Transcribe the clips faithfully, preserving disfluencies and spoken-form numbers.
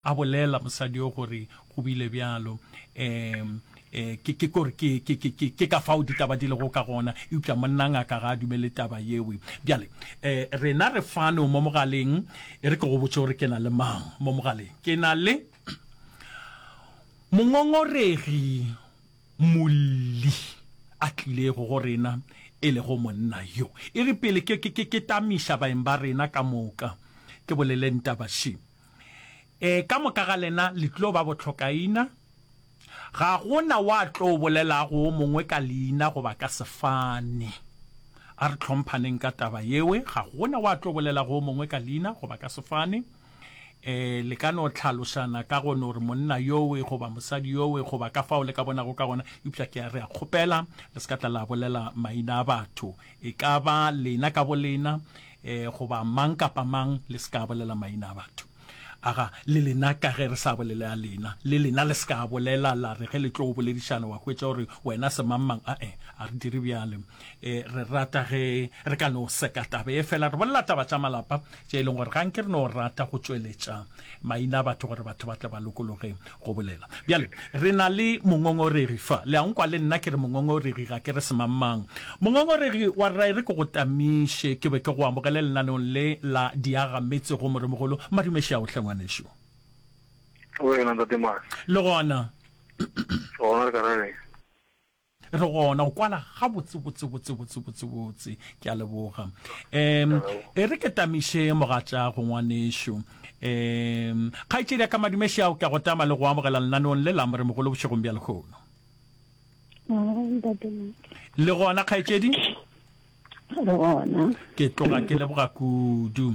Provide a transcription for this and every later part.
A bolela mosadi yo gore go bile bjalo. Um, eh, ke, ke kore ke, ke, ke, ke, ke ka fao ditaba di lego ka gona, eupša monna ngaka ga a dumele taba yewe. Bjale, eh, rena re fano mo mogaleng, e re ke go botše gore ke na le mang mo mogaleng. Ke na le mongongoregi molli a tlilego go rena, e lego monna yo. E re pele ke, ke, ke, ke tamiša baeng ba rena ka moka, ke boleleng taba še. E, ka moka ga lena le tlo ba bohlokaina. Ga go na wa tlo bolelago wo mongwe ka leina goba ka sefane. A re hlomphaneng ka taba yewe. Ga go na wa tlo bolelago wo mongwe ka leina goba ka sefane. E, le ka no hlalošana ka go no re monna yowe goba mosadi yowe goba ka fao le ka bonago ka gona, eupša ke a re a kgopela le se ka tla la bolela maina a batho. E ka ba lena ka bolena, e, goba mang kapa mang, le se ka bolela maina a batho. Aga, le lena ka ge re sa bolele a lena, le lena le se ka bolela la re ge le tlo boledišana wa hwetša gore wena semangmang, ae, a re dire bjale. E, re rata ge re ka no seka taba ye fela, re bolela taba tša malapa tše e leng gore ga nke re no rata go tšweletša maina a batho gore batho ba tle ba lokologe go bolela. Bjale, re na le mongongoregi fa. Le a nkwa le nna ke re mongongoregi, ga ke re semangmang. Mongongoregi wa rra e re ke go tamiše, ke be ke go amogele lenaneong le la Diagametse go Moremogolo. Madumeši ao hle ngwanešu. Wena ntate Mase. Le gona. Gona re ka ra reng? Re gona o kwala ga botse botse botse botse botse botse. Ke a leboga. Um e re ke tamiše mogatša go ngwanešu. Um kgaetšedi ya ka madumeši ao ke a go tama le go amogela lenaneong le la Moremogolo bošegong bja lehono. Le gona kgaetšedi? Le gona. Ke tloga ke leboga kudu.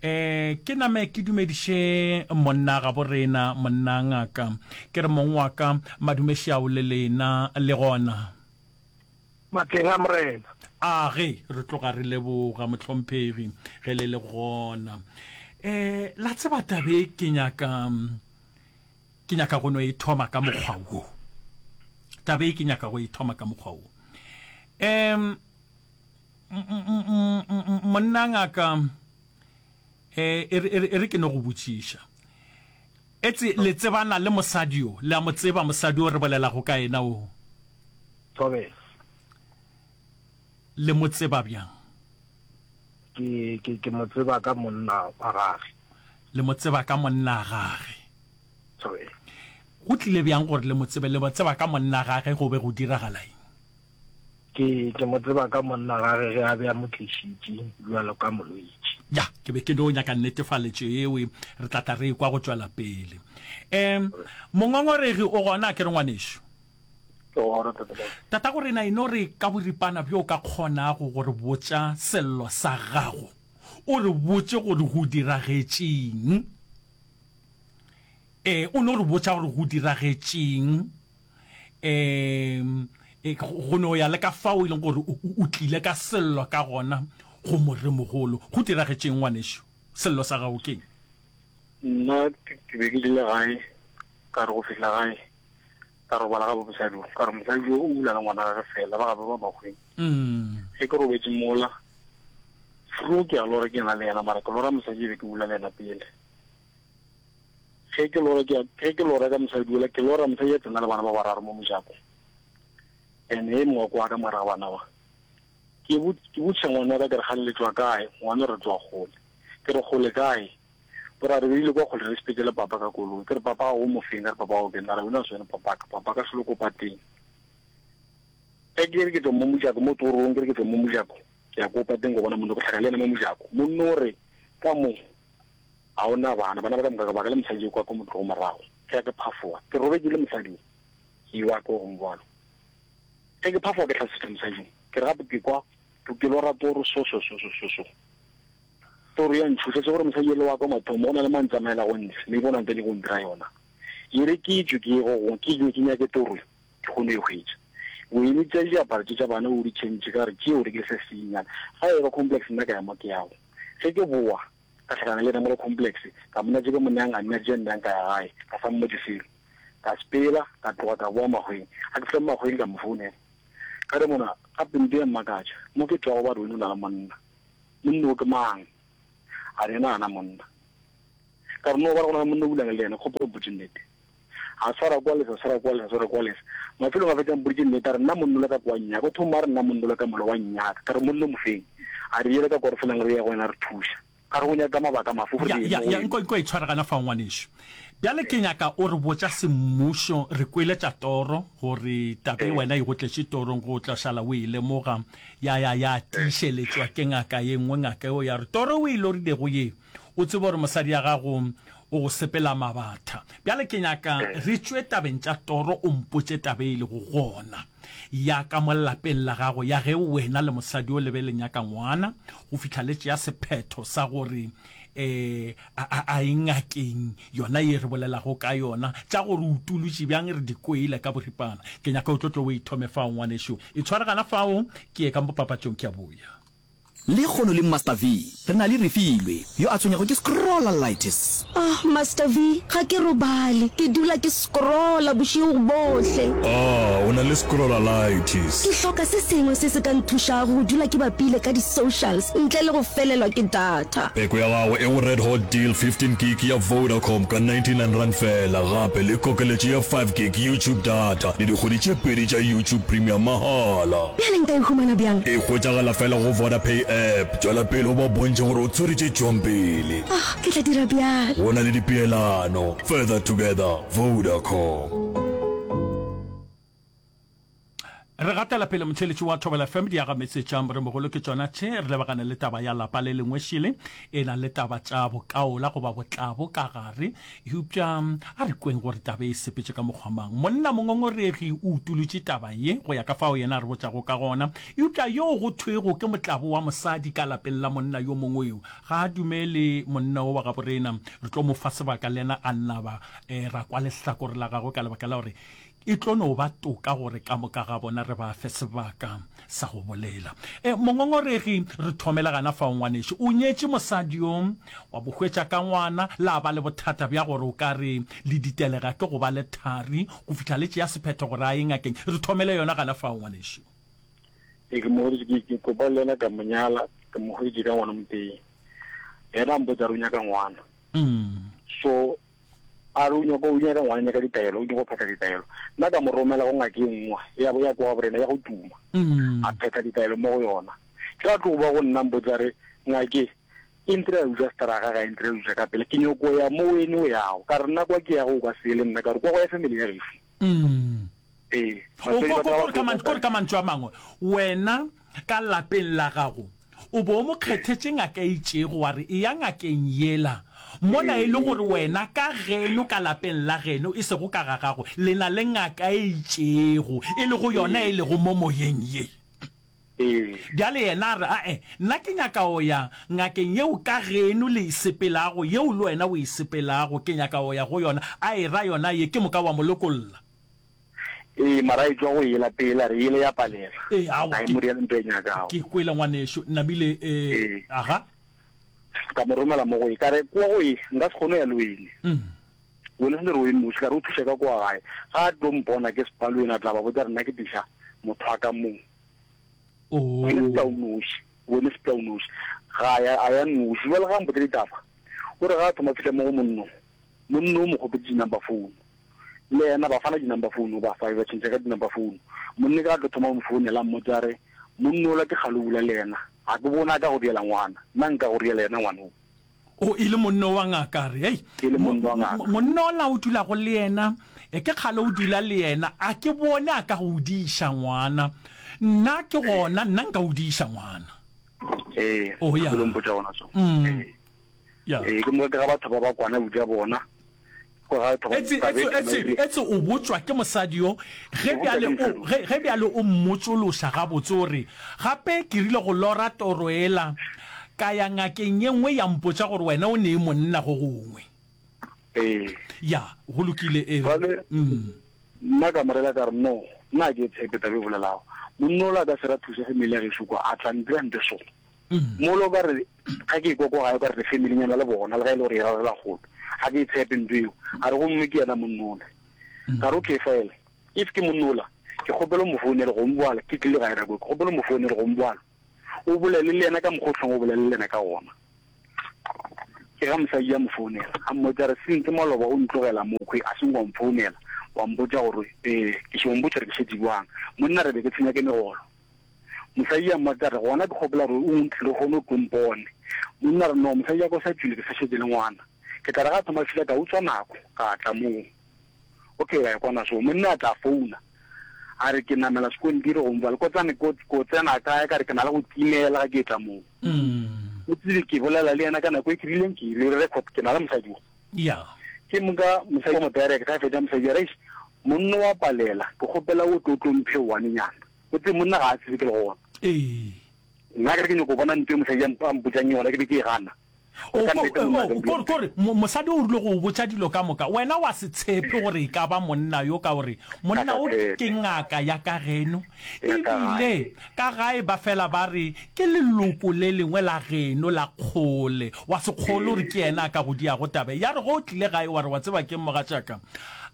Eh ke name ke dumediše monna ga borena, monna ngaka. Ke re mong wa ka, madumeši ao le lena le gona. Matleng a Morena. A ge re tloga re leboga mohlomphegi ge le le gona. Eh la tseba tabe ke nyaka ke nyaka go no e thoma ka mokgwa wo. Tabe ke nyaka go e thoma ka mokgwa wo. Em monna ngaka eh e re e ke no go botšiša. Etse le tsebana le mosadi yo, le a mo tseba mosadi yo re bolelago ka yena o? Thobela. Le mo tseba bjang? Ke ke ke mo tseba ka monna wa gage. Le mo tseba ka monna gage. Thobela. Go tlile bjang gore le mo tsebe? Le mo tseba ka monna gage go be go diragala eng? Ke ke mo tseba ka monna gage ge a be a mo tlišitše bjalo ka molwetši. Ya, ke be ke no nyaka netefaletšo yeo, re tla tla re ekwa go tšwela pele. Um, mongongoregi o gona, a ke re ngwanešu? Ke gona, Tate Mose. Tatago rena, e no re ka boripana bjo o ka kgonago go re botša sello sa gago, o re botše gore go diragetšeng. Ee, o no re botša gore go diragetšeng. Um go no ya le ka fao e leng gore o tlile ka sello ka gona go moremogolo. Go diragetšeng ngwanešu? Sello sa gago keng? Nna ke be ke dule gae, ka re go fihla gae ka robala ga mosadi o, ka re mosadi o o bula le ngwana gage fela, ba gabe ba makgweng. Ge ke robetše mola, fro ke a lora ke na le yena, mara ke lora mosadi e be ke bula le yena pele. Ge ke lora ke ge ke lora ka mosadi ola, ke lora mosadi a tsena le bana ba bararo mo mojako. And e mongwe kwa ka mara bana ba. Ke bo ke botša ngwana wa ka ke re gale le tšwa kae, ngwana re tšwa kgole. Ke re kgole kae? O ra re beile kwa kgole re sepetse le papa ka koloi. Ke re papa o mo feng, ka re papa o ke nna re wena se wena papa ka, papa ka selo ko pateng. Ge ke re ke tšwa mo mojako mo torong, ke re ke tšwa mo mojako, ke ya ko pateng go bona monna, ke hlaka le yena mo mojako. Monna o re ka mo ga o na bana, bana ba ka moka ba ka le mosadi yo kwa ko motlogo morago. Ge ke phafoga, ke robetše le mosadi o, ke wa ko go bjalo. Ge ke phafoga ke hlasetša mosadi o, ke re gape ke kwa ke lora toro so so so so so so. Toro ya ntšhoša se gore mosadi ele wa ka mathomo go na le mang tsamaela go ntshe, maybe o na ntse go ntira yona. E re ke tšwe ke ye go gongwe, ke ke nyake toro ke kgone e hwetša. O eme tša diaparo tše tša bana o di change ka re tšeo o rekile se senyane. Ga e ba complex nna ka ya mo ke yago. Ge ke boa ka hlakana le yena mo le complex, ka mona tše ke mo neyang a nna tše nnang ka ya gae, ka sa mmotše selo. Ka sepela, ka tloga ka boa Mahweng. Ga ke fihla mo Mahweng ka mo founela. Ka re mona, gape nto ya mmakatša, mo ke tšwago ba re wena o na le monna. Monna o ke mang? A re yena ga na monna. Ka re no ba re gona monna o bulang le yena, kgopolo mpotše nnete. A swara kwa lesa, swara kwa lesa, swara kwa lesa. Mafelong a fetša mpoditše nnete, a re nna monna ola ka kwa nnyaka. O thoma a re nna monna ola ka mola wa nnyaka. Ka re monna o mofeng? A re yela ka kwa re felang re ya go yena re thuša. Ka re o nyaka mabaka mafe gore Ya, re ye ya, mo go ya, yena? nko, nko e tshware gana fao ngwanešu. Bjale ke nyaka o re botša semmušo, re kwele tša toro, gore taba e Ee. wena e go tletše torong, go tla šala o e lemoga, ya ya ya tiišeletšwa ke ngaka ye nngwe, ngaka eo ya re, Toro o e lorilego ye, o tsebe gore mosadi ya gago o go sepela mabatha. Bjale ke nyaka Ee. re tšwe tabeng tša toro, o mpotše taba e lego gona ya ka mo lapeng la gago, ya ge wena le mosadi yo le be le nyaka ngwana, go fihla le tšea sephetho sa gore e a, a, a e ngakeng yona ye re bolelago ka yona. Tša gore o utolotše bjang re di kwele ka boripana. Ke nyaka o tlo tlo o e thome fao, ngwanešu. E tshware gana fao, ke ye ka mo papatšong, ke a boya. Lekgono le Master V, re na le Refilwe, yo a tshwenyago ke scrollalitis. Ah, Master V, ga ke robale. Ke dula ke scrolla bošego bohle. Ah, o na le scrollalitis. Ke hloka se sengwe se se ka nthušago go dula ke bapile ka di-socials ntle le go felelwa ke data. Peko ya gago e go Red Hot Deal fifteen gig ya Vodacom ka ninety nine rand fela, gape le kokeletšo ya five gig YouTube data le dikgwedi tše pedi tša YouTube Premium mahala. Bjale nka e humana bjang? E hwetšagala fela go Vodapay app. Tšwela pele o ba bontšhe gore o tshwere tše tšwang pele. Ah, ke tla dira bjalo. Go na le dipeelano. Further together, Vodacom. Re gatela pele motheeletši wa Thobela F M diagametse tša Moremogolo ke tšona tše. Re lebagane le taba ya lapa le lengwe šele e na le taba tša bokaola goba botlabo ka gare. Eupša a re kweng gore taba e sepetše ka mokgwa mang. Monna mongongoregi o utolotše taba ye go ya ka fao yena a re botšago ka gona. Eupša yoo go thwego ke motlabo wa mosadi ka lapeng la monna yo mongwe yo ga a dumele monna wo wa gaborena. Re tlo mo fa sebaka le yena a naba ra kwa lehlakore la gagwe ka lebaka la gore e tlo no ba toka gore ka moka ga bona re ba fe sebaka sa go bolela. E, mongongoregi, re thomele gana fao ngwanešu. O nyetše mosadi yo, wa bo hwetša ka ngwana, la ba le bothata bja gore o ka re le ditelega ke go ba le thari go fihla le tšea sephetho gore a ye ngakeng. Re thomele yona gana fao ngwanešu. E, ke mo hweditše, ke, ke kopa le yena ka mo nyala, ke mo hweditše ka ngwana motee. Yena a mpotša re o nyaka ngwana. Mm. So, a re o nyaka, o nyaka ngwana, nyaka ditaelo, o nyaka go phetha ditaelo. Nna ka mo romela go ngaka e nngwe, ya bo ya kwa borena, ya go tuma. Mm. A phetha ditaelo mo go yona. Ke a tlo ba go nna mpotsa re, ngake, e ntira ya utswa straga, ga e ntira ya utswa ka pele. Ke nyoko ya mo wene o yago. Ka re nna kwa ke yago o ka se le nna, ka re kwa go ya family ya gešo. Mm. Ee, O, batswadi ko, ba ko, tla ba kore ka man-, tlo kore ka mantšu a mangwe, wena ka lapeng la gago o bo o mo kgethetše ngaka e itšego, wa re eya ngakeng yela, mola e le gore wena ka geno ka lapeng la geno, e sego ka ga gago, le na le ngaka e itšego, e lego yona e lego mo moyeng ye. Ee. Bjale yena a re, Ae, nna ke nyaka go ya ngakeng yeo ka geno le e sepelago, yeo le wena o e sepelago, ke nyaka go ya go yona. A e ra yona ye, ke moka wa mo lokolla. Ee, mara e tšwa go yela pele, a re yele ya palela. Ee, aowa, A e ke, mo diela ntho e nyakago. ke kwele ngwanešu, namile, ee, Ee. aga. Ka mo romela mo go ye, ka re, Kwa go ye, nka se kgone go ya le wene. Mm. Wene se le re o e noši, ka re o thuše ka kwa gae. Ga a tlo mpona ke sepalo yena, a tla ba botša re nna ke tliša motho wa ka mo. Oh. Wene sepela o noši, wene sepela o noši. Ga a ya, a ya noši. Bjale ga a mpotša ditaba, o re ga a thoma fihla mo go monno, monno o mo kgopetše di-number phone. Le yena ba fana di-number phone, ba fa ba tšhentšha ka di-number phone. Monna ke a tlo thoma go mo founela, a mmotša a re, Monna ola ke kgale o bula le yena, ga ke bone a ka go diela ngwana, nna nka go diela yena ngwana o. O, e le monna wa ngaka, a re, Hei, E le monna wa ngaka. monna ola o dulago le yena, ke kgale o dula le yena, a ke bone a ka go diša ngwana. Nna ke gona, nna nka o diša ngwana. Ee, Oh, ya. ke lo mpotša gona so. Mm. Ee. Ya. Ee, ke mo ke ga batho ba ba kwana bja bona. Etse, etse, etse, etse o botšwa ke mosadi yo, ge bjale o, ge, ge bjale o mmotšološa gabotse, o re, Gape ke rile go lora toro yela, ka ya ngakeng ye nngwe ya mpotša gore wena o nee monna go gongwe. Ee. Ya, go lokile, e re. Bjale, Mm. nna ka mo rela ka re, No, nna ga ke tshepe taba e bolelago. Monna ola a ka se ra thuša family ya gešo kwa, a tla ntira nte so. Mola o ka re, ga ke ekwa kwa gae, o ka re re family-nyana le bona, le ga e le gore e rarela kgole. Ga ke e tshepe ntho eo. A re, gomme ke yena monna ola. Ka re, okay, fela, if ke monna ola, ke kgopela o mo founele go mboala, ke tlile gae nako e, ke kgopela o mo founele go mboala, o bolele le yena ka mokgwa o hlong o bolele le yena ka gona. Ke ga mosadi a mo founela, a mmotša a re, Since maloba o ntlogela mokhwi a seng wa mfounela, wa mpotša gore ee, ke šo mpotša gore ke šetše bjang. Monna re be ke tshwenya ke megolo. Mosadi a mmotša a re, Gona ke kgopela gore o ntle lehono o tlo mpone. Monna a re, No, mosadi ya ka o sa tšwile, ke sa šetše le ngwana. Ke tla re ga a thoma fihla ka utswa nako, ka tla moo. Okay, ra kwana so. Monna a tla founa, a re ke namela sekontiri go mfa lekotsane, ko, ko tsena kae, ka re ke na le go timela ga ke etla moo. O tsebe ke bolela le yena ka nako e ke rileng ke ile record, ke na le mosadi wo. Yeah. Ke moka mosadi wa mo direct, ga fetša mosadi a re, Eish, monna wa palela, ke kgopela o tlo tlo mphe one nyana. O tsebe monna ga a tsebe ke le gona. Ee. Nna ke re ke nyoko bona ntho e mosadi a mpotšang yona, ke be ke e gana. O, ko, o, ko, kore, mosadi o rile go o botša dilo ka moka, wena wa se tshepe gore e ka ba monna yo, ka gore monna o ke ngaka ya ka geno, ebile ka gae ba fela ba re ke leloko le lengwe la geno la kgole, wa se kgole gore ke yena a ka go diago taba ye. Ya re ge o tlile gae wa re, Wa tseba ke'ng mogatšaka,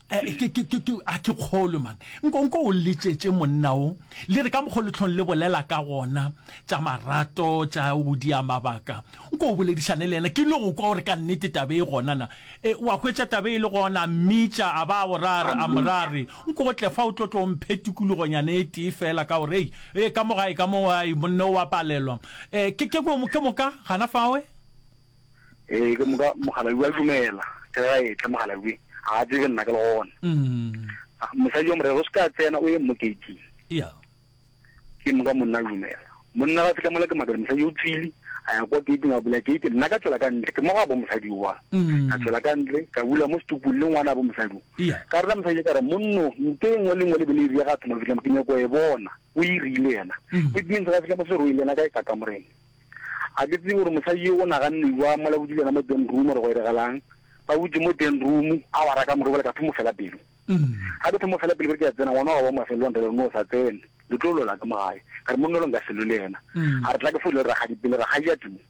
ke, ke, ke, ke, a ke kgolwe man. Nko, nko o letšetše monna o, le re ka mokgo le hlong le bolela ka gona, tša marato, tša go dia mabaka. Nko o boledišane le yena, ke no go kwa gore ka nnete taba e gona na. E, wa hwetša taba e le gona, a mmitša, a ba a go ra a re, a mo ra a re, nko o tle fa o tlo tlo mphe tikologonyana e tee feela ka gore, ei, e, ka mo gae ka mo, ai, monna o a palelwa. E, ke, ke, ke moka, gana fawe. Ee, ke moka mokgalabje a dumela. Ke ge a etla mokgalabje, ga a tsebe nna ke le gona. Mosadi wa morero o se ka tsena, o ye mo keiting. Yeah. Ke moka monna a dumela. Monna ga fihla mola ke makala, mosadi o tswile, a ya kwa keiting, a bula keiti, nna ka tšwela ka ntle, ke mo ga bo mosadi oa. Ka tšwela ka ntle, ka bula mo setupung le ngwana bo mosadi o. Yeah. Ka rera mosadi ka re, monno, nto e nngwe le nngwe le be le e ria ga thoma fihla mo, ke nyako e bona. O e rile yena. It means ga fihla mo se roile yena ka ka kamoreng. A ke tsebe gore mosadi yo o naganne bjang mola botse le yena mo den room gore go iregalang. Ba butše mo den room, a wa raka morobala ka thomo fela pelo. Ga ke thomo fela pelo ke re ke a tsena, ngwana wa ba mafelelong re re no sa tsene, le tlo lwela ka mo gae. Ka re monna lo nka se lwe le yena. A re tla ke founele rakgadi pele, rakgadi a tuma.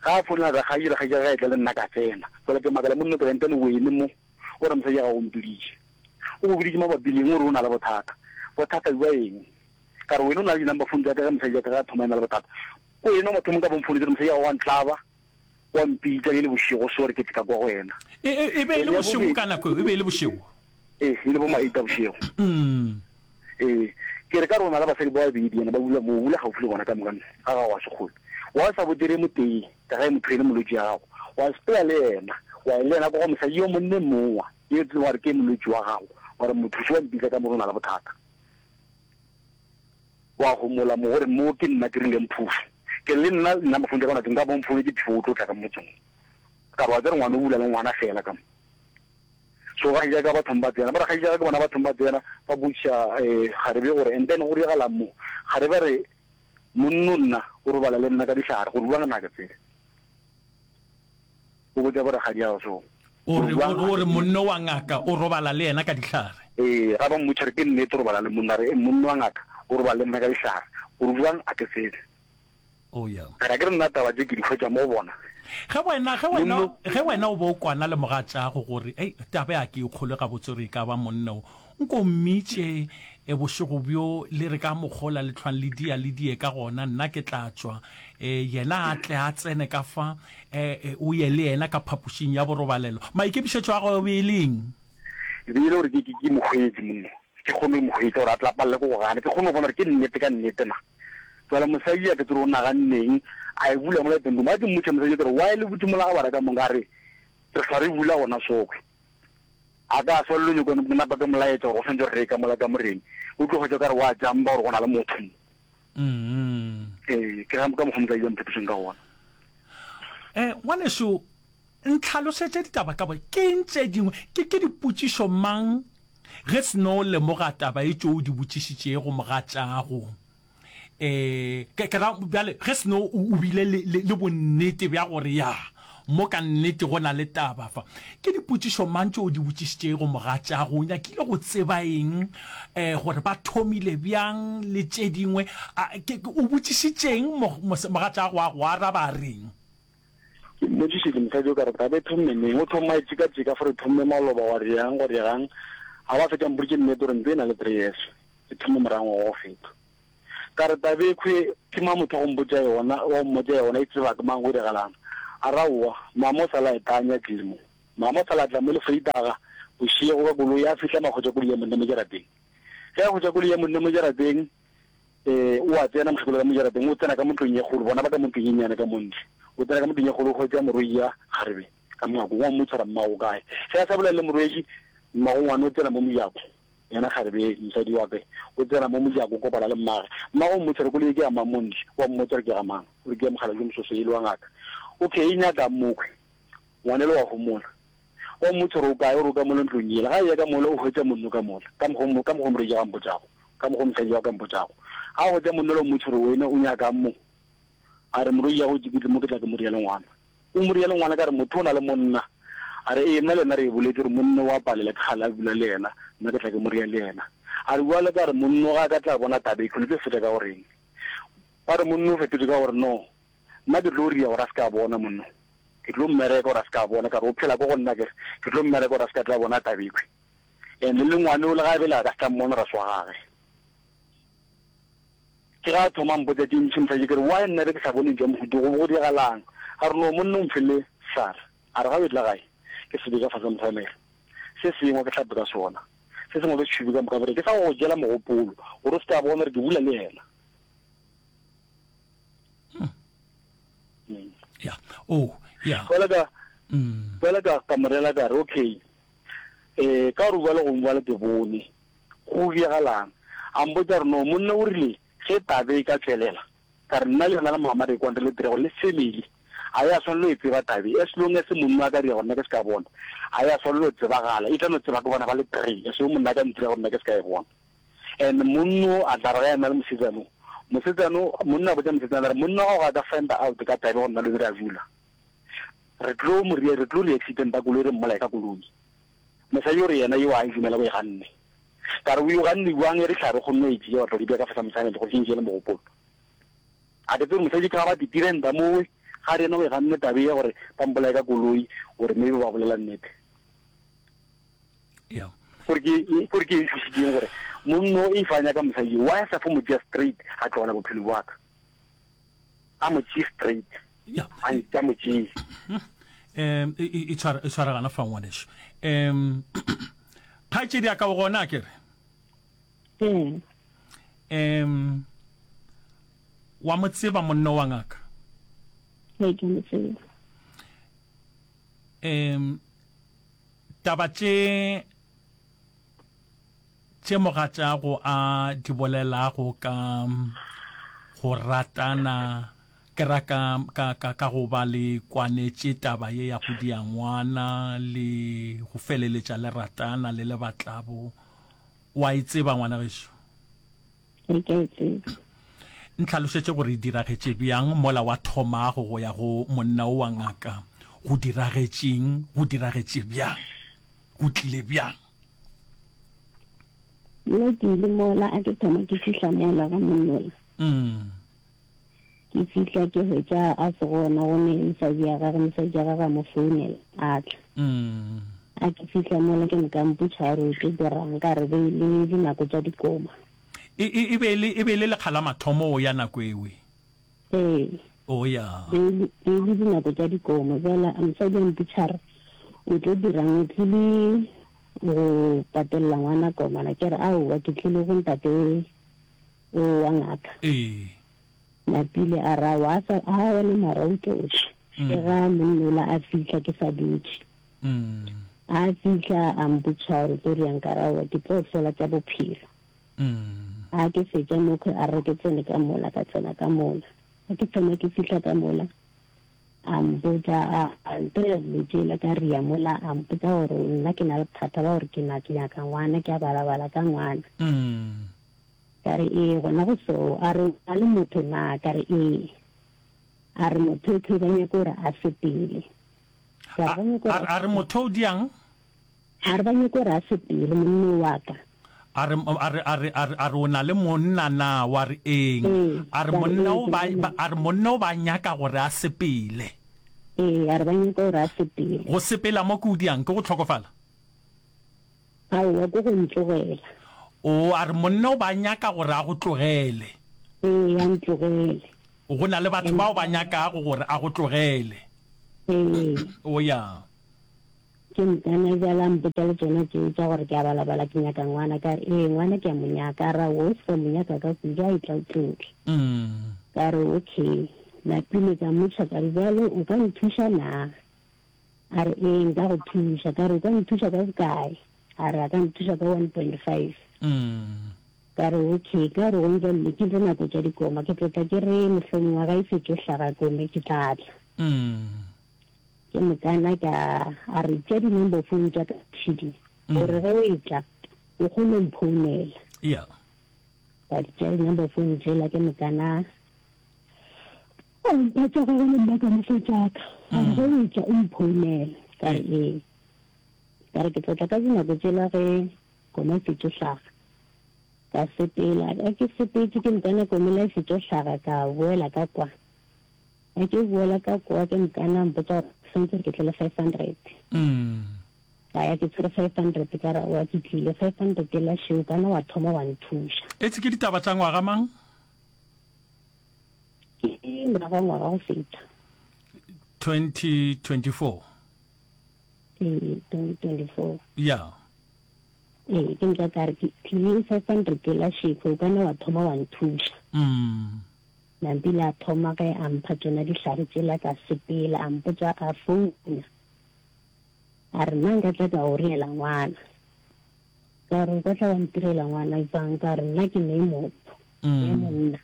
Ga a founela rakgadi, rakgadi ga e tla le nna ka tsena. Jwale ke makala monna ke re ntane wene mo, o re mosadi ya gago o mpiditše. O go biditše mabapi le eng o re o na le bothata. Bothata bja eng? Ka re, Wena o na le di-number phone tša ka ge mosadi wa ka ge a thoma a ena le bothata. Ko wena o mathomong ka bo mfounetše gore mosadi wa gago wa ntlaba, wa mpitša e le bošego so gore ke tle ka kwa go wena. E, e, e be e le Ene ya bošego bobedi, ka nako eo, e be e le bošego. ee, e le bo ma eight a bošego. Mm. Ee, ke re ka re o na le basadi ba babedi, ene ba bula moo, o bula gaufi le bona ka moka, ga gago ga se kgole. Wa sa botere motee, ka ge motho e le molwetši ya gago, wa sepela le yena, wa ya le yena kwa go mosadi yo monne mowa, yo tseba gore ke molwetši wa gago, wa re mothuši wa mpitša ka mo re o na le bothata. Wa homola mo gore mo ke nna ke rileng phofu. Ke re le nna nna mafoung tša ka nako nka bo mfoune ke phefo o tlo tla ka motseng. Ka re wa tsere ngwana o bula le ngwana fela ka mo. So ga ja ka bathong ba tsena. Ba re ga ja ke bona bathong ba tsena ba botša eh kgarebe gore and then go diragalang mo. Kgarebe a re monno nna o robala le nna ka dihlare gore bua ngwana ke tsebe. O botša borakgadiago so. O re, o re monno wa ngaka o robala le yena ka dihlare. Ee, ga ba mmotša re ke nnete o robala le monna, re monno wa ngaka o robala le nna ka dihlare. O re bjang a ke tsebe. Oh yeah. Ka re a ke re nna taba tše ke di hwetša mo go bona. Ge wena, ge wena, ge wena o be o kwana le mogatšago gore, Ei, taba ya ke e kgolwe gabotse gore e ka ba monna o, nko mmitše e bošego bjo le re ka mokgola le hlwang le dia le die ka gona, nna ke tla tšwa, e, yena a tle a tsene ka fa, e, e, o ye le yena ka phapošing ya borobalelo. Maikemišetšo a gago e be e le eng? E be e le gore ke, ke, ke mo hwetše monna, ke kgone go mo hwetša gore a tle a palelwe ke go gana, ke kgone go bona gore ke nnete ka nnete na. Bjale mosadi a ke tsebe gore o naganneng, a e bula mola teng room. A ke mmotša mosadi ke re, Why le butše mola ga bara ka moka? A re, Re hlwa re bula gona sokwe. A ka swa le nyoko ke napa ke molaetša gore go swantše gore re ye ka mola kamoreng. O tlo hwetša o ka re wa jamba gore go na le motho mo. Ee, ke ka mokgwa mosadi a mphetošeng ka gona. Eh, ngwanešu, ntlhalosetše ditaba ka bo. Ke eng tše dingwe, ke, ke dipotšišo mang ge seno lemoga taba e tšo o di botšišitšego mogatšago? Eh, ke, ke ra, bjale, ge seno o, o bile le, le, le bonnete bja gore ya, mo ka nnete go na le taba fa. Ke dipotšišo mang tše o di botšišitšego mogatšago? O nyakile go tseba eng, eh, gore ba thomile bjang le tše dingwe? A, ke, ke, o botšišitšeng mo, mogatšago a go araba a reng? Ke mmotšišitše mosadi o ka re taba e thomme neng? O thoma e tšeka-tšeka fore e thomme maloba gwa reang, gwa diregang. A ba fetša mpoditše nnete gore ntlo e na le three years e thomme morago ngwaga wa go feta. Ka re, Tabekhwe, ke mang motho wa go mpotša yona, wa go mmotša yona, e tseba ke mang, go diragalang? A re aowa, mama o sa la e tanya tlile mo. Mama o sa la tla mo le Vrydag bošego ka koloi, a fihla ma hwetša koloi ya monna mo jarateng. Ge a hwetša koloi ya monna mo jarateng, eh, o a tsena mokgekolo ka mo jarateng, o tsena ka mo ntlong ye kgolo, bona ba ka mo ntlong ye nnyane ka mo ntle. O tsena ka mo ntlong ye kgolo, o hwetša morwedi ya kgarebe ka mongwakong, wa mmotša gore mmago o kae. Ge a sa bolela le morwedi, mmago ngwana o tsena mo mojako, yena kgarebe, mosadi wa ka, o tsena mo mojako, o kopana le mmage. Mmago o mmotša gore koloi ye ke ya mang mo ntle, o a mmotša gore ke ga mang, o re ke ya mokgalabje Mososo ele wa ngaka. Okay, e nyakang mokhwi? Ngwanelo wa homola. Wa mmotša gore o kae, o re o ka mola ntlong yela. Ga a eya ka mola, o hwetša monno ka mola, ka mokgo, ka mokgo morwedi a mpotšago, ka mokgo mosadi wa ka mpotšago. Ga a hwetša monno la o mmotša gore wena o nyakang mo? A re, Morwedi ya go ke tle mo ke tla ke mo ria le ngwana. O mo ria le ngwana ka re motho o na le monna. A re, Ee, nna le yena re e boletše gore monno wa palela ke kgale a bula le yena, nna ke tla ke mo ria le yena. A re, Bjale ka re monno ga a ka tla bona taba e khwi, le tlo fetša ka go reng? Ba re monno o fetotše ka gore, No, nna ke tlo ria gore a se ka bona monno. Ke tlo mmereka gore a se ka bona, ka re o phela ko go nna, ke re ke tlo mmereka gore a se ka tla bona taba ekhwi. And le ngwane o le ga a belega ka se tla mmona gore a se wa gage. Ke ga a thoma a mpotša tše ntši mosadi, ke re why nna be ke sa bone ntšwa mohuta go be go diragalang? A re no monna o mfile sar, a re ga o etla gae ke se be ka fase ga mosamelo, se sengwe ke hlape ka sona, se sengwe ke se tšhube ka moka gore ke sa go jela mogopolo gore o se ka bona gore ke bula le yena. Hmm. Ya. Oh, ya. Fela ka fela ka ka morela ka re okay. Eh ka gore bjale go bjale ke bone go diagalang. A mpotša gore no monna o rile ge tabe e ka tšwelela ka re nna le yena le mama re kwane re le three gore le family a ya swanelo e tseba tabe as long as monna a ka dira gore nna ke se ka bona a ya swanelo e tsebagala e tla no tseba ke bona ba le three as long monna a ka ntira gore nna ke se ka e bona. And monno a tla re ge a na le mosetsano, mosetsano, monna a botša mosetsana a re, monna wa gago a ka find out ka tabe gore nna le re a dula, re tlo mo ria, re tlo ria accident ya koloi re mmolaye ka koloi. Mosadi o re yena yo a e dumela o e ganne. Ka re o e ganne bjang e re hlare kgonne o e tšea wa tla di bea ka fase ga mosamelo gore ke ntšeele mogopolo. A ke tsebe gore mosadi ke ga ba titirenta mowe, ga re yena o e ganne tabe ye gore ba mmolaye ka koloi, gore maybe ba bolela nnete. Yeah. Gore ke gore ke nthušitšeng gore monno if a nyaka mosadi yo why a sa fo mo tšea straight a tlogela bophelo bwa ka a mo tšee straight Yeah. a a mo tšee Um e e tshwara e tshwaragana fa ngwaneso. Um kgaetšedi ya ka o gona ke re. Ee. Um wa mo tseba monna wa ngaka? Ee, ke mo tseba. Um Taba tše tše mogatšago a di bolelago ka go ratana, ke ra ka, ka, ka, ka go ba le kwanetše taba ye ya go dia ngwana le go feleletša le ratana le le batlabo, wa e tseba ngwana gešo? Ee, ke a e tseba. Ntlhalošetše gore e diragetše bjang mola wa thomago go ya go monna wo wa ngaka. Go diragetšeng? Go diragetše bjang? Go tlile bjang? Nna ke ile mola a ke thoma ke fihla mola ga monnola. Mm. Ke fihla ke hwetša a se gona go ne mosadi ya gage, mosadi ya gage a mo founela a tla. Mm. A ke fihla mola ke moka mpotša a re o tlo dirang ka re be e le dinako tša dikoma. E, e, e be e le, e be e le lekga la mathomo o ya nako ewe? Ee. O ya. E le, e le dinako tša dikomo. Bjale a mosadi a mpotša re, O tlo dirang? O tlile go patelela ngwana komana? Ke re, Aowa, ke tlile go ntate o wa ngaka. Ee. Napile a re, Aowa, a sa, a wena mara o tlo tla. Ke ga monnola a fihla ke sa dutše. Mm. A fihla a mpotša gore tlo riang ka re, Aowa, ke tlo hlola tša bophelo. Mm. A ke fetša mokhwe a re ke tsene ka mola, ka tsena ka mola. A ke thoma ke fihla ka mola, a mpotša a a ntira dilo tšela ka ria mola, a mpotša gore nna ke na le bothata ba gore ke na ke nyaka ngwana, ke a balabala ka ngwana. Mm. Ka re ee, gona go so. A re o na le motho na? Ka re ee. A re motho ekhwe ba nyaka gore a sepele. Ka re A ba nyaka a gore a re motho o diang? A re ba nyaka gore a sepele monno wa ka. A re, a re, a re, a re, a re o na le monna na? Wa re eng? Ee, A re ka re monna ee, o ke ba, na le ba, monna. a re monna o ba nyaka gore a sepele. Ee, a re ba nyaka gore a sepele. Go sepela mo ke o diang? Ke go hlokofala? Aowa, ke go ntlogela. Oo, a re monna o ba nyaka gore a go tlogele. Ee, a ntlogele. Go na le batho bao ba nyakago gore a go tlogele. Ee. O ya. Ke mokana bjale a mpotša le tšona tšeo tša gore ke a balabala ke nyaka ngwana, ka re ee ngwana ke a mo nyaka, a re aowa o se ka mo nyaka ka kudu a etla o tlo tla. Ka re okay, napile ka mmotša ka re bjale o ka nthuša na? A re ee nka go thuša, ka re o ka nthuša ka bokae? A re a ka nthuša ka one point five. Ka re okay, ka gore gong bjale ke tlo nako tša dikoma, ke tlo tla ke re mohlomongwe ga e fetše hlaga kome ke tla tla. Ke mokana ka a re tšea di-number phone tša ka tšhidi gore ge o etla o kgone go mphounela. Yeah. Ka di tšea di-number phone tšela ke mokana a mpha tša gagwe le nna ka mo fa tša ka. A re ge o etla o mphounele. Ka re ee. Ka re ke tlo tla ka dinako tšela ge koma e fetšo hlaga. Ka sepela, ge ke sepetše ke mokana komela e fetšo hlaga ka boela ka kwa. Ge ke boela ka kwa ke mokana a mpotša gore santse ke tle le five hundred. Ka ya ke tshwere five hundred ka re aowa ke tlile five hundred yela šeo kana wa thoma wa nthuša. Etse ke ditaba tša ngwaga mang? Ke morago ga ngwaga go feta. Twenty twenty four. Ee, twenty twenty four. Ya. Ee, ke nka ka re ke tlile five hundred yela šeko kana wa thoma wa nthuša. Nampile a thoma ge a mpha tšona dihlare tšela ka sepela, a mpotša a founa a re nna nka tla ka go reela ngwana. Ka re o ka tla wa ntirela ngwana jwang? Ka re nna ke ne motho, ke monna.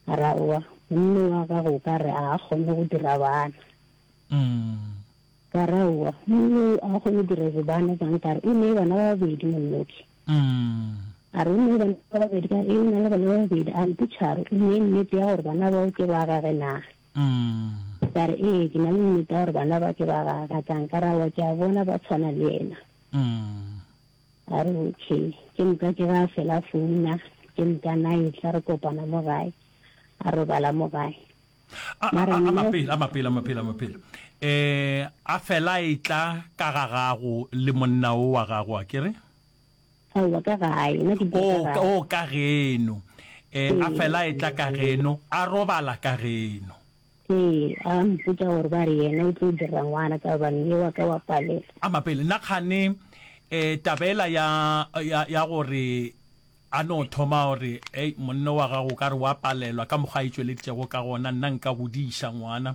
A re aowa, monna wa gago o ka re a kgone go dira bana. Ka re aowa, monna o a kgone go dira bana jwang? Ka re o ne bana ba babedi monnoke. A re o ne bana ba babedi, ka re ee o na le bana ba babedi. A mpotša a re o ne nnete ya gore bana bao ke ba gage na? Ka re ee ke na le nnete ya gore bana ba ke ba gage. Ka nka ra aowa ke a bona ba tshwana le yena. A re okay. Ke moka ke ga a fela founa, ke moka na etla re kopana mo gae, a robala mo gae. A, a, a, a mapele, a mapele, a mapele, a mapele. Eh, a fela etla ka ga gago le monna o wa gago, a ke re? Aowa, ka gae, nna ke dula O, ka gae. o, ka geno. Eh, a fela a etla ka geno, a robala ka geno. Ee, a mpotša gore ba re yena o tlo dira ngwana ka gobane ye wa ka wa palela. A mapele, nna kgane eh, taba ela ya, ya, ya gore a no thoma gore, Ei, monna wa gago o ka re wa palelwa ka mokgwa a itšweleditšego ka gona, nna nka godiša ngwana.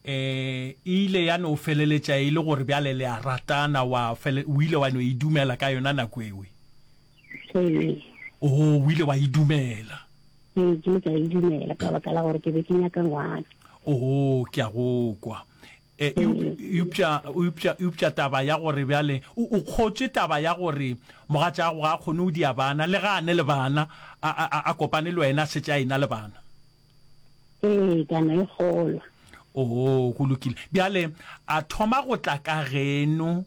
Eh, e ile ya no feleletša e le gore bjale le a ratana, wa fele, o ile wa no e dumela ka yona nako ewe? Ee. Oh, o ile wa e dumela. Ee, ke ile ka e dumela ka baka la gore ke be ke nyaka ngwana. Oh, ke a go kwa. Eh, eupša, eupša, eupša taba ya gore bjale o, o kgotše taba ya gore mogatšago ga a kgone go dia bana, le ga a ne le bana, a, a, a kopane le wena a šetše a e-na le bana. Ee, ka no e kgolwa. Oo, go lokile. Bjale, a thoma go tla ka geno,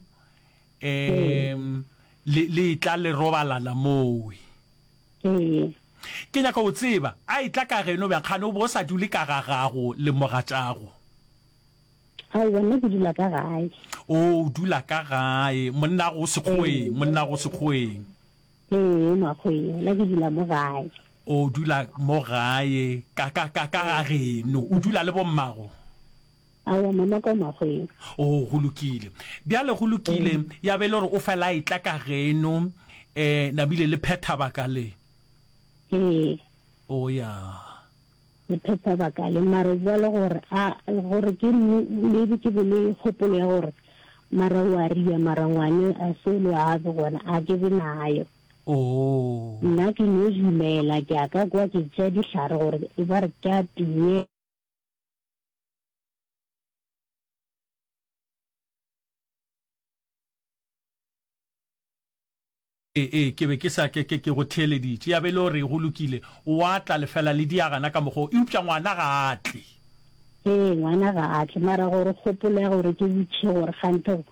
um, le, le etla le robalana mowe. Ee. Ke nyaka go tseba, a etla ka geno bjang, kgane o be o sa dule ka ga gago le mogatšago? Aowa, nna ke dula ka gae. Oo, o dula ka gae. Monnago o Sekgoweng, monnago o Sekgoweng. Ee, Makgoweng. Nna ke dula mo gae. O dula mo gae, ka, ka, ka, ka ga geno. O dula le bommago? Aowa, mama ka o Makgoweng. Oo, go lokile. Bjale go lokile, ya be e le gore o fela a etla ka geno, eh, nabile le phetha baka le. Ee. O ya. Le phetha baka le, mara bjale gore a, gore ke maybe ke be le kgopolo ya gore mara o a ria, mara ngwane a se le a be gona, a ke be nayo. Oh. Nna ke no dumela, ke a ka kwa ke tšea dihlare gore e ba re ke a tee. Ee, ee, ke be ke sa, ke, ke, ke go theeleditše. Ya be e le gore go lokile, o a tla, lefela le diagana ka mokgwa wo, eupša ngwana ga a tle. Ee, ngwana ga a tle. Mara gore kgopolo ya gore ke botšiše gore kganthe go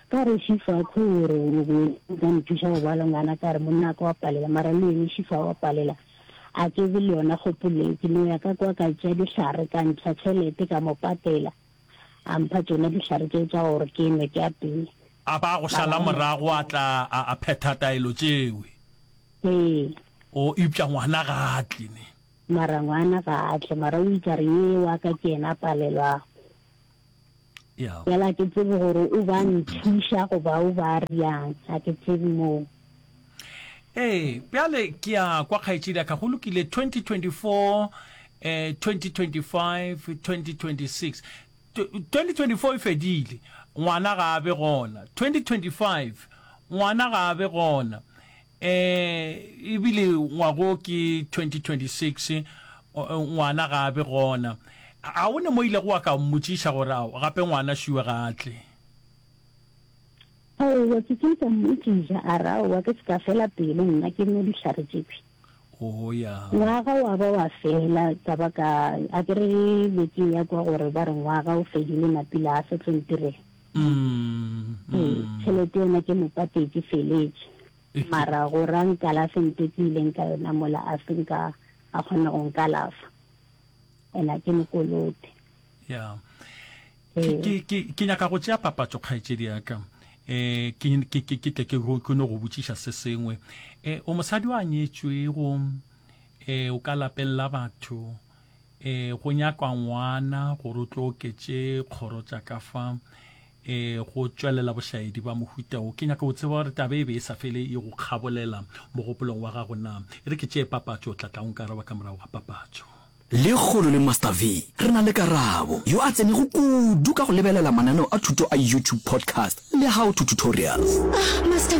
ka re Šifa kho o re o be o ka nthuša go ba le ngwana, ka re monna wa ka wa palela, mara le yene Šifa wa palela, a ke be le yona kgopolo eo. Ke no ya ka kwa ka tšea dihlare, ka ntšha tšhelete ka mo patela, a mpha tšona dihlare tšeo tša gore ke nwe ke apeye. A ba go šala morago a tla a, a phetha taelo tšewe. Ee. O, eupša ngwana ga a tle, ne. Mara ngwana ga a tle, mara o itše a re, Ye wa ka ke yena a palelwago. Yeah. Bjale ga ke tsebe gore o ba nthuša goba o ba riang, ga ke tsebe moo. Ee, bjale ke a kwa kgaetšedi ya ka, go lokile, twenty twenty four, eh, twenty twenty five, twenty twenty six. Twenty twenty four e fedile, ngwana ga a be gona. Twenty twenty five, ngwana ga a be gona. Eh, ebile ngwago ke twenty twenty six, ngwana ga a be gona. A o ne mo ilego wa ka mmotšiša gore ao gape ngwana šiwe ga a tle? Aowa, ke kile ka mmotšiša, a re aowa ke se ka fela pelo nna ke nwe dihlare tšekhwi. Oh ya. Ngwaga wa ba wa fela, ka ba ka, a ke re be ke ya kwa gore ba re ngwaga o fedile Mapila a sa tlo ntirela. Mm, Ee, mm. tšhelete yona ke mo patetše feletše. E ke. Mara gore a nkalafe nto ke ileng ka yona mola a se nka a kgona go nkalafa. And a ke mo kolote. Ya. Ke, ke, ke, ke nyaka go tšea papatšo, kgaetšedi ya ka. Eh, ke, ke, ke, ke tle ke, ke no go botšiša se sengwe. Eh, o mosadi wa nyetšwego, eh, o ka lapeng la batho, eh, go nyakwa ngwana gore o tlo oketše kgoro tša ka fa, eh, go tšwelela bošaedi ba mohuta wo. Ke nyaka go tseba gore taba e be e sa fele e go kgabolela mogopolong wa gago na. E re ke tšee papatšo, o tla tla o nkaraba ka morago ga papatšo. Lekgolo le Master V re na le Karabo, yo a tsenego kudu ka go lebelela mananeo a thuto a YouTube podcast le how to tutorials. Ah, Master